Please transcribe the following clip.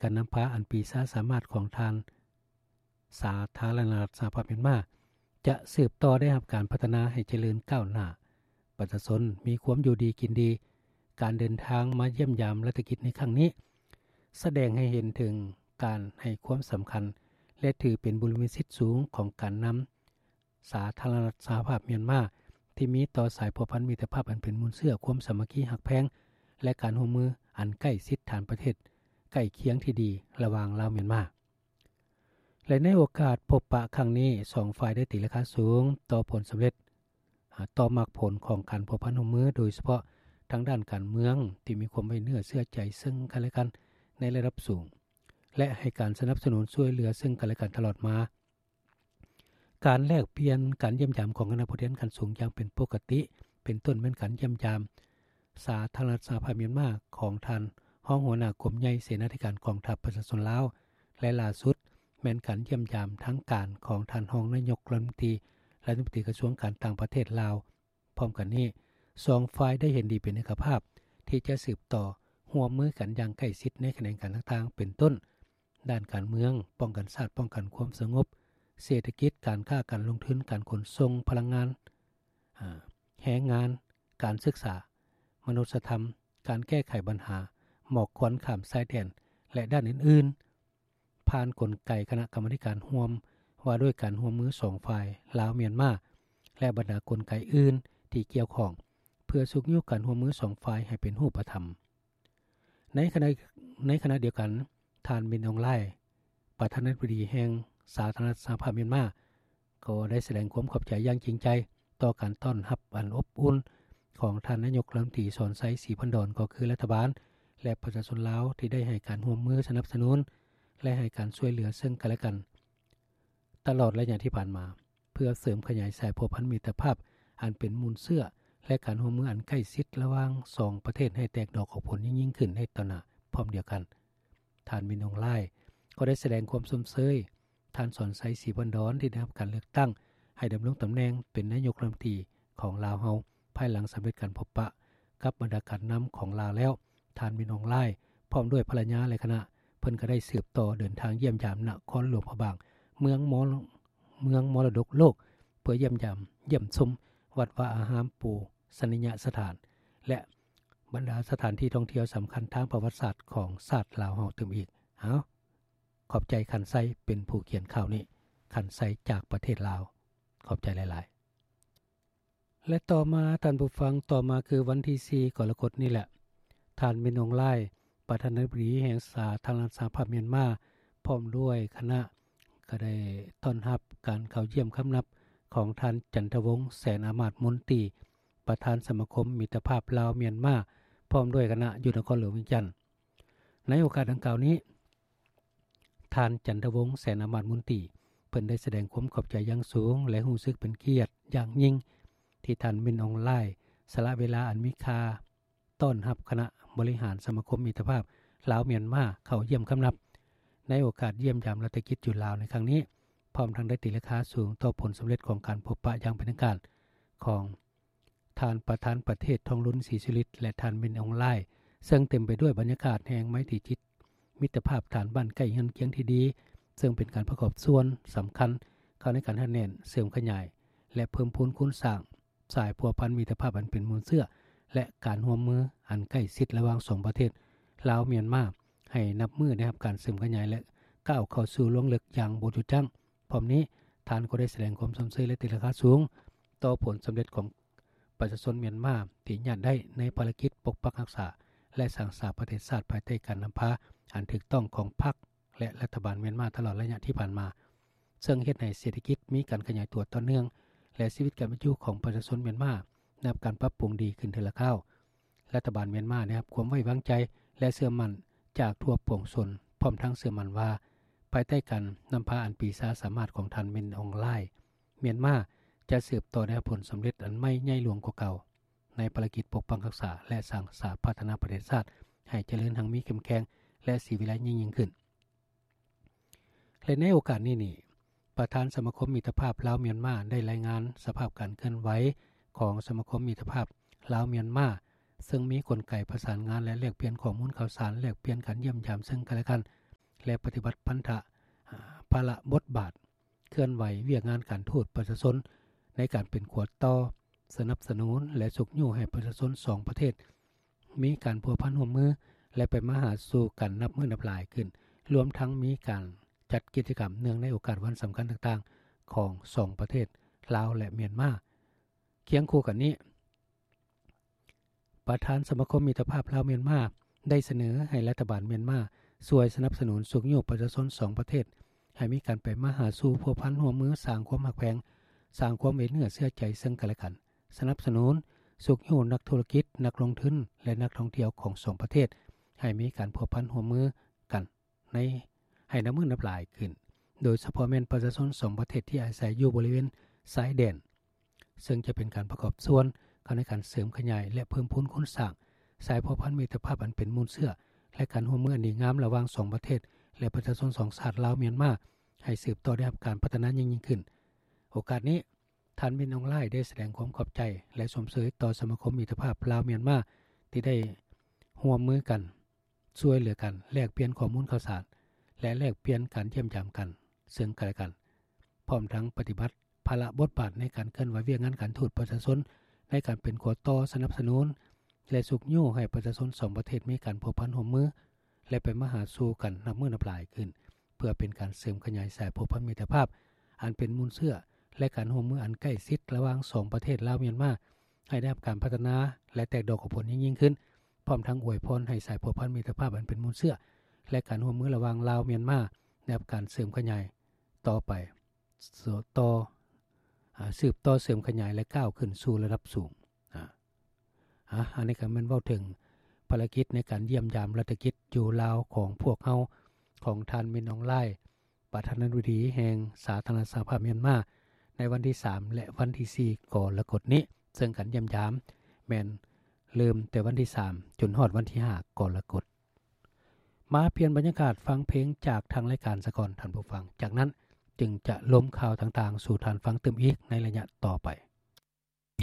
ການນຳພາອັນປີຊາສາມາດຂອງທ່ານ ສາທາລະນະລັດສະຫະພາບມຽນມາ ຈະສືບຕໍ່ໄດ້ຮັບການພັດທະນາໃຫ້ຈະເລີນກ້າວໜ້າ, ປະຊາຊົນມີຄວາມຢູ່ດີກິນດີ, ການເດີນທາງມາຢ້ຽມຢາມລັດຖະກິດໃນຄັ້ງນີ້ ສະແດງໃຫ້ເຫັນເຖິງການໃຫ້ຄວາມສຳຄັນ ແລະ ຖືເປັນບຸລິມະສິດສູງຂອງການນຳ ສາທາລະນະລັດສະຫະພາບມຽນມາ ທີ່ມີຕໍ່ສາຍພົວພັນມິດຕະພາບອັນເປັນມູນເຊື້ອຄວາມສາມັກຄີຮັກແພງ ແລະ ການຮ່ວມມືອັນໃກ້ຊິດທາງປະເທດໃກ້ຄຽງທີ່ດີລະຫວ່າງລາວມຽນມາ. ແລະ ໃນໂອກາດພົບປະຄັ້ງນີ້ ສອງຝ່າຍໄດ້ຕີລາຄາສູງຕໍ່ຜົນສຳເລັດ ອາ ຕໍ່ໝາກຜົນຂອງການພົວພັນຮ່ວມມື ໂດຍສະເພາະທາງດ້ານການເມືອງ ທີ່ມີຄວາມໄວ້ເນື້ອເຊື່ອໃຈເຊິ່ງກັນແລະກັນໃນລະດັບສູງ ແລະ ໃຫ້ການສະໜັບສະໜູນຊ່ວຍເຫຼືອເຊິ່ງກັນແລະກັນຕະຫຼອດມາ. ການແລກປ່ຽນການຢ້ຽມຢາມຂອງຄະນະຜູ້ແທນຂັ້ນສູງຢ່າງເປັນປົກກະຕິ ເປັນຕົ້ນແມ່ນການຢ້ຽມຢາມສາທາລະນະລັດສະຫະພາບມຽນມາຂອງທ່ານຮອງຫົວໜ້າກົມໃຫຍ່ເສນາທິການກອງທັບປະຊາຊົນລາວ ແລະ ຫຼ້າສຸດແມ່ນການຢ້ຽມຢາມທາງການຂອງທ່ານຮອງນາຍົກລັດຖະມົນຕີ ລັດຖະມົນຕີກະຊວງການຕ່າງປະເທດລາວ. ພ້ອມກັນນີ້ ສອງຝ່າຍໄດ້ເຫັນດີເປັນເອກະພາບ ທີ່ຈະສືບຕໍ່ຮ່ວມມືກັນຢ່າງໃກ້ຊິດໃນຂະແໜງການຕ່າງໆ ເປັນຕົ້ນ ດ້ານການເມືອງ, ປ້ອງກັນຊາດ, ປ້ອງກັນຄວາມສະຫງົບ, ເສດຖະກິດ, ການຄ້າ, ການລົງທຶນ, ການຂົນສົ່ງ, ພະລັງງານ, ອາ, ແຮງງານ, ການສຶກສາ, ມະນຸດສະທຳ, ການແກ້ໄຂບັນຫາໝອກຄວັນຂ້າມຊາຍແດນ ແລະ ດ້ານອື່ນໆ ຜ່ານກົນໄກຄະນະກຳມາທິການຮ່ວມວ່າດ້ວຍການຮ່ວມມືສອງຝ່າຍ ລາວ-ມຽນມາ ແລະ ບັນດາກົນໄກອື່ນທີ່ກ່ຽວຂ້ອງ ເພື່ອຊຸກຍູ້ການຮ່ວມມືສອງຝ່າຍໃຫ້ເປັນຮູບປະທຳ. ໃນຂະນະ ໃນຂະນະດຽວກັນ, ທ່ານ ມິນ ອອງ ລາຍ ປະທານາທິບໍດີແຫ່ງສາທາລະນະລັດສະຫະພາບມຽນມາ ກໍໄດ້ສະແດງຄວາມຂອບໃຈຢ່າງຈິງໃຈຕໍ່ການຕ້ອນຮັບອັນອົບອຸ່ນຂອງທ່ານນາຍົກລັດຖະມົນຕີ ສອນໄຊ ສີພັນດອນ ກໍຄືລັດຖະບານ ແລະ ປະຊາຊົນລາວທີ່ໄດ້ໃຫ້ການຮ່ວມມືສະໜັບສະໜູນ ແລະ ໃຫ້ການຊ່ວຍເຫຼືອເຊິ່ງກັນແລະກັນຕະຫຼອດໄລຍະທີ່ຜ່ານມາ ເພື່ອເສີມຂະຫຍາຍສາຍພົວພັນມິດຕະພາບອັນເປັນມູນເຊື້ອ ແລະ ການຮ່ວມມືອັນໃກ້ຊິດລະຫວ່າງສອງປະເທດໃຫ້ແຕກດອກອອກຜົນຍິ່ງໆຂຶ້ນໃນຕໍ່ໜ້າ. ພ້ອມດຽວກັນ, ທ່ານ ມິນ ອອງ ລາຍ ກໍໄດ້ສະແດງຄວາມຊົມເຊີຍ ທ່ານ ສອນໄຊ ສີພັນດອນ ທີ່ໄດ້ຮັບການເລືອກຕັ້ງໃຫ້ດຳລົງຕຳແໜ່ງເປັນນາຍົກລັດຖະມົນຕີຂອງລາວເຮົາ ພາຍຫຼັງສຳເລັດການພົບປະກັບບັນດາການນຳຂອງລາວແລ້ວ. ທ່ານ ມິນ ອອງ ລາຍ ພ້ອມດ້ວຍພັນລະຍາ ແລະ ຄະນະ ເພິ່ນກໍໄດ້ສືບຕໍ່ເດີນທາງຢ້ຽມຢາມນະຄອນຫຼວງພະບາງ ເມືອງມໍ ເມືອງມໍລະດົກໂລກ ເພື່ອຢ້ຽມຢາມ ຢ້ຽມຊົມວັດວາອາຮາມ ປູຊະນີຍະສະຖານ ແລະ ບັນດາສະຖານທີ່ທ່ອງທ່ຽວສຳຄັນທາງປະຫວັດສາດຂອງຊາດລາວເຮົາຕື່ມອີກ. ເອົາ, ຂອບໃຈ ຄັນໄຊ ເປັນຜູ້ຂຽນຂ່າວນີ້. ຄັນໄຊ ຈາກປະເທດລາວ. ຂອບໃຈຫຼາຍໆ. ແລະ ຕໍ່ມາ, ທ່ານຜູ້ຟັງ, ຕໍ່ມາຄືວັນທີສີ່ ກໍລະກົດນີ້ແຫຼະ, ທ່ານ ມິນ ອອງ ລາຍ ປະທານາທິບໍດີແຫ່ງສາທາລະນະລັດສະຫະພາບມຽນມາ ພ້ອມດ້ວຍຄະນະ ກໍໄດ້ຕ້ອນຮັບການເຂົ້າຢ້ຽມຄຳນັບຂອງທ່ານ ຈັນທະວົງ ແສນອາມາດມົນຕີ ປະທານສະມາຄົມມິດຕະພາບລາວ-ມຽນມາ ພ້ອມດ້ວຍຄະນະ ຢູ່ນະຄອນຫຼວງວຽງຈັນ. ໃນໂອກາດດັ່ງກ່າວນີ້, ທ່ານ ຈັນທະວົງ ແສນອາມາດມົນຕີ ເພິ່ນໄດ້ສະແດງຄວາມຂອບໃຈຢ່າງສູງ ແລະ ຮູ້ສຶກເປັນກຽດຢ່າງຍິ່ງ ທີ່ທ່ານ ມິນ ອອງ ລາຍ ສະຫຼະເວລາອັນມີຄ່າ ຕ້ອນຮັບຄະນະບໍລິຫານສະມາຄົມມິດຕະພາບລາວ-ມຽນມາ ເຂົ້າຢ້ຽມຄຳນັບ ໃນໂອກາດຢ້ຽມຢາມລັດຖະກິດຢູ່ລາວໃນຄັ້ງນີ້, ພ້ອມທັງໄດ້ຕີລາຄາສູງຕໍ່ຜົນສຳເລັດຂອງການພົບປະຢ່າງເປັນທາງການຂອງ ທ່ານປະທານປະເທດ ທອງລຸນ ສີສຸລິດ ແລະ ທ່ານ ມິນ ອອງ ລາຍ ເຊິ່ງເຕັມໄປດ້ວຍບັນຍາກາດແຫ່ງໄມຕີຈິດ ມິດຕະພາບທ່ານບ້ານໃກ້ເຮືອນຄຽງທີ່ດີ, ເຊິ່ງເປັນການປະກອບສ່ວນສຳຄັນເຂົ້າໃນການຮັດແໜ້ນ, ເສີມຂະຫຍາຍ ແລະ ເພີ່ມພູນຄູນສ້າງສາຍພົວພັນມິດຕະພາບອັນເປັນມູນເຊື້ອ ແລະ ການຮ່ວມມືອັນໃກ້ຊິດລະຫວ່າງສອງປະເທດ ລາວ-ມຽນມາ ໃຫ້ນັບມື້ໄດ້ຮັບການເສີມຂະຫຍາຍ ແລະ ກ້າວເຂົ້າສູ່ລວງເລິກຢ່າງບໍ່ຢຸດຢັ້ງ. ພ້ອມນີ້, ທ່ານກໍໄດ້ສະແດງຄວາມຊົມເຊີຍ ແລະ ຕີລາຄາສູງຕໍ່ຜົນສຳເລັດຂອງ ປະຊາຊົນມຽນມາທີ່ຍາດໄດ້ໃນພາລະກິດປົກປັກຮັກສາ ແລະ ສ້າງສາປະເທດຊາດ ພາຍໃຕ້ການນຳພາອັນຖືກຕ້ອງຂອງພັກ ແລະ ລັດຖະບານມຽນມາຕະຫຼອດໄລຍະທີ່ຜ່ານມາ, ເຊິ່ງເຮັດໃຫ້ເສດຖະກິດມີການຂະຫຍາຍຕົວຕໍ່ເນື່ອງ ແລະ ຊີວິດການເປັນຢູ່ຂອງປະຊາຊົນມຽນມາໄດ້ຮັບການປັບປຸງດີຂຶ້ນເທື່ອລະຄາວ. ລັດຖະບານມຽນມາໄດ້ຮັບຄວາມໄວ້ວາງໃຈ ແລະ ເຊື່ອໝັ້ນຈາກທົ່ວປວງຊົນ, ພ້ອມທັງເຊື່ອໝັ້ນວ່າ ພາຍໃຕ້ການນຳພາອັນປີຊາສາມາດຂອງທ່ານ ມິນ ອອງ ລາຍ, ມຽນມາຈະສືບຕໍ່ໄດ້ຮັບຜົນສຳເລັດອັນໃໝ່ໃຫຍ່ຫຼວງກວ່າເກົ່າ ໃນພາລະກິດປົກປັກຮັກສາ ແລະ ສ້າງສາພັດທະນາປະເທດຊາດໃຫ້ຈະເລີນຮັ່ງມີເຂັ້ມແຂງ ແລະ ສີວິໄລຍິ່ງໆຂຶ້ນ. ແລະ ໃນໂອກາດນີ້ນີ້, ປະທານສະມາຄົມມິດຕະພາບລາວ-ມຽນມາ ໄດ້ລາຍງານສະພາບການເຄື່ອນໄຫວຂອງສະມາຄົມມິດຕະພາບລາວ-ມຽນມາ, ເຊິ່ງມີກົນໄກປະສານງານ ແລະ ແລກປ່ຽນຂໍ້ມູນຂ່າວສານ, ແລກປ່ຽນການຢ້ຽມຢາມເຊິ່ງກັນແລະກັນ, ແລະ ປະຕິບັດພັນທະ ອາ ພາລະບົດບາດ ເຄື່ອນໄຫວວຽກງານການທູດປະຊາຊົນ ໃນການເປັນຂົວຕໍ່ ສະໜັບສະໜູນ ແລະ ຊຸກຍູ້ໃຫ້ປະຊາຊົນສອງປະເທດ ມີການພົວພັນຮ່ວມມື ແລະ ໄປມາຫາສູ່ກັນນັບມື້ນັບຫຼາຍຂຶ້ນ, ລວມທັງມີການຈັດກິດຈະກຳເນື່ອງໃນໂອກາດວັນສຳຄັນຕ່າງໆ ຂອງສອງປະເທດ ລາວ ແລະ ມຽນມາ. ຄຽງຄູ່ກັນນີ້, ປະທານສະມາຄົມມິດຕະພາບລາວ-ມຽນມາ ໄດ້ສະເໜີໃຫ້ລັດຖະບານມຽນມາ ຊ່ວຍສະໜັບສະໜູນຊຸກຍູ້ປະຊາຊົນສອງປະເທດ ໃຫ້ມີການໄປມາຫາສູ່ ພົວພັນຮ່ວມມື, ສ້າງຄວາມຮັກແພງ, ສ້າງຄວາມໄວ້ເນື້ອເຊື່ອໃຈເຊິ່ງກັນແລະກັນ, ສະໜັບສະໜູນຊຸກຍູ້ນັກທຸລະກິດ, ນັກລົງທຶນ ແລະ ນັກທ່ອງທ່ຽວຂອງສອງປະເທດ ໃຫ້ມີການພົວພັນຮ່ວມມືກັນໃນ ໃຫ້ນັບມື້ນັບຫຼາຍຂຶ້ນ, ໂດຍສະເພາະແມ່ນປະຊາຊົນສອງປະເທດທີ່ອາໄສຢູ່ບໍລິເວນຊາຍແດນ, ເຊິ່ງຈະເປັນການປະກອບສ່ວນເຂົ້າໃນການເສີມຂະຫຍາຍ ແລະ ເພີ່ມພູນຄູນສ້າງສາຍພົວພັນມິດຕະພາບອັນເປັນມູນເຊື້ອ ແລະ ການຮ່ວມມືອັນດີງາມລະຫວ່າງສອງປະເທດ ແລະ ປະຊາຊົນສອງຊາດລາວ-ມຽນມາ ໃຫ້ສືບຕໍ່ໄດ້ຮັບການພັດທະນາຍິ່ງໆຂຶ້ນ. ໂອກາດນີ້, ທ່ານ ມິນ ອອງ ລາຍ ໄດ້ສະແດງຄວາມຂອບໃຈ ແລະ ຊົມເຊີຍຕໍ່ສະມາຄົມມິດຕະພາບລາວ-ມຽນມາ ທີ່ໄດ້ຮ່ວມມືກັນ ຊ່ວຍເຫຼືອກັນ, ແລກປ່ຽນຂໍ້ມູນຂ່າວສານ ແລະ ແລກປ່ຽນການຢ້ຽມຢາມກັນເຊິ່ງກັນແລະກັນ, ພ້ອມທັງປະຕິບັດພາລະບົດບາດໃນການເຄື່ອນໄຫວວຽກງານການທູດປະຊາຊົນ ໃນການເປັນຂົວຕໍ່ສະໜັບສະໜູນ ແລະ ຊຸກຍູ້ໃຫ້ປະຊາຊົນສອງປະເທດມີການພົວພັນຮ່ວມມື ແລະ ໄປມາຫາສູ່ກັນນັບມື້ນັບຫຼາຍຂຶ້ນ, ເພື່ອເປັນການເສີມຂະຫຍາຍສາຍພົວພັນມິດຕະພາບອັນເປັນມູນເຊື້ອ ແລະ ການຮ່ວມມືອັນໃກ້ຊິດລະຫວ່າງສອງປະເທດລາວ-ມຽນມາ ໃຫ້ໄດ້ຮັບການພັດທະນາ ແລະ ແຕກດອກອອກຜົນຍິ່ງໆຂຶ້ນ, ພ້ອມທັງອວຍພອນໃຫ້ສາຍພົວພັນມິດຕະພາບອັນເປັນມູນເຊື້ອ ແລະ ການຮ່ວມມືລະຫວ່າງລາວ-ມຽນມາ ໄດ້ຮັບການເສີມຂະຫຍາຍຕໍ່ໄປ ຕໍ່ ອາ ສືບຕໍ່ເສີມຂະຫຍາຍ ແລະ ກ້າວຂຶ້ນສູ່ລະດັບສູງ. ອາ ອາ ອັນນີ້ກໍແມ່ນເວົ້າເຖິງພາລະກິດໃນການຢ້ຽມຢາມລັດຖະກິດຢູ່ລາວຂອງພວກເຮົາ ຂອງທ່ານ ມິນ ອອງ ລາຍ ປະທານາທິບໍດີແຫ່ງສາທາລະນະລັດສະຫະພາບມຽນມາ ໃນວັນທີສາມ ແລະ ວັນທີສີ່ ກໍລະກົດນີ້, ເຊິ່ງການຢ້ຽມຢາມແມ່ນເລີ່ມແຕ່ວັນທີສາມ ຈົນຮອດວັນທີຫ້າ ກໍລະກົດ. ມາປ່ຽນບັນຍາກາດຟັງເພງຈາກທາງລາຍການສາກ່ອນ, ທ່ານຜູ້ຟັງ, ຈາກນັ້ນຈຶ່ງຈະລົມຂ່າວຕ່າງໆສູ່ທ່ານຟັງຕື່ມອີກໃນໄລຍະຕໍ່ໄປ.